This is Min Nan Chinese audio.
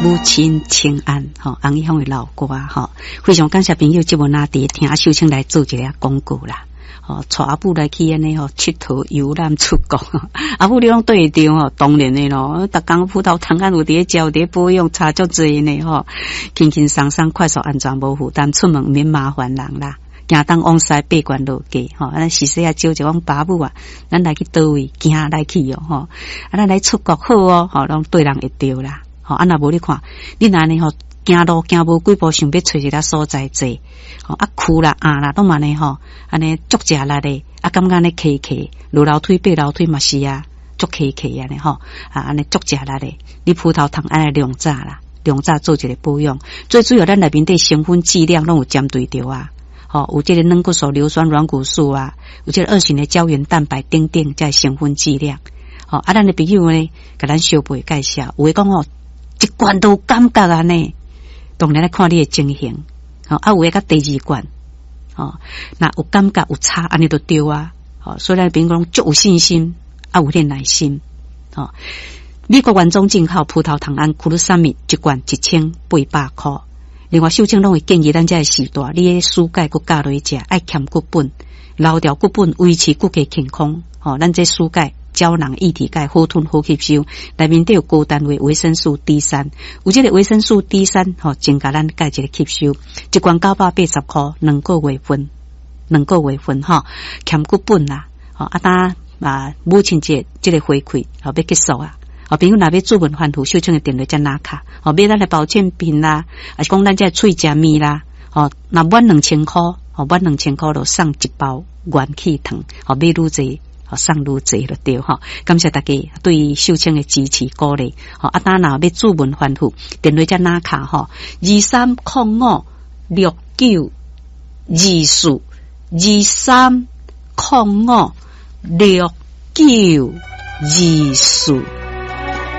母親請安，吼，洪一峰的老歌吼，非常感謝朋友這麼拿佇聽秀清來做一個廣告啦。吼，帶阿母來去按呢吼，𨑨迌遊覽出國，阿母你攏對會著吼，當然的咯，逐工葡萄糖胺有佇咧食，有佇咧保養，差足濟呢吼，輕輕鬆鬆，快速安全無負擔，出門毋免麻煩人啦。行東往西爬懸落低吼，咱時時啊招一講爸母啊，咱來去佗位行來去哦吼，啊咱來出國好哦，吼攏對人會著啦，吼啊若無你看，你若按呢吼行路行無幾步，想欲揣一个所在坐，吼啊跍啦壓啦，攏嘛按呢吼，按呢足食力的，啊感覺按呢磕磕，落樓梯爬樓梯嘛是啊，足磕磕按呢吼，啊按呢足食力的，你葡萄糖愛來量早啦，量早做一個保養，最主要咱內面底成分劑量攏有針對著啊。吼，有這個軟骨素、硫酸軟骨素啊，有這個二型的膠原蛋白等等，這成分劑量。吼，啊，咱的朋友呢，共咱相背介紹，有的講吼，一罐都有感覺按呢，當然來看你的情形。吼，啊，有的佮第二罐，吼，若有感覺有差，按呢就對啊。吼，所以咱朋友講足有信心，啊，有點耐心。吼，美國原裝進口葡萄糖胺 glucosamine 一罐1800箍。另外，秀清攏會建議咱這个時代，你的舒鈣閣加落去食，愛兼骨本，留掉骨本，維持骨骼健康。吼，咱這舒鈣膠囊液體鈣好吞好吸收，內面底有高單位維生素 D 三，有這個維生素 D 三，吼，增加咱鈣一個吸收。一罐980箍，兩個月份，兩個月份吼，兼骨本啦，吼，啊，當啊母親節這個回饋，吼，欲結束啊。哦，朋友若欲主問反覆，秀清的電話才拿卡。哦，買咱的保健品啦，抑是講咱這喙食麵啦，哦，若滿兩千箍，哦，滿兩千箍就送一包元氣糖，哦，買愈濟，哦，送愈濟就對吼。感謝大家對秀清的支持鼓勵。吼，啊，當若欲主問反覆，電話才拿卡吼，23056924，23056924。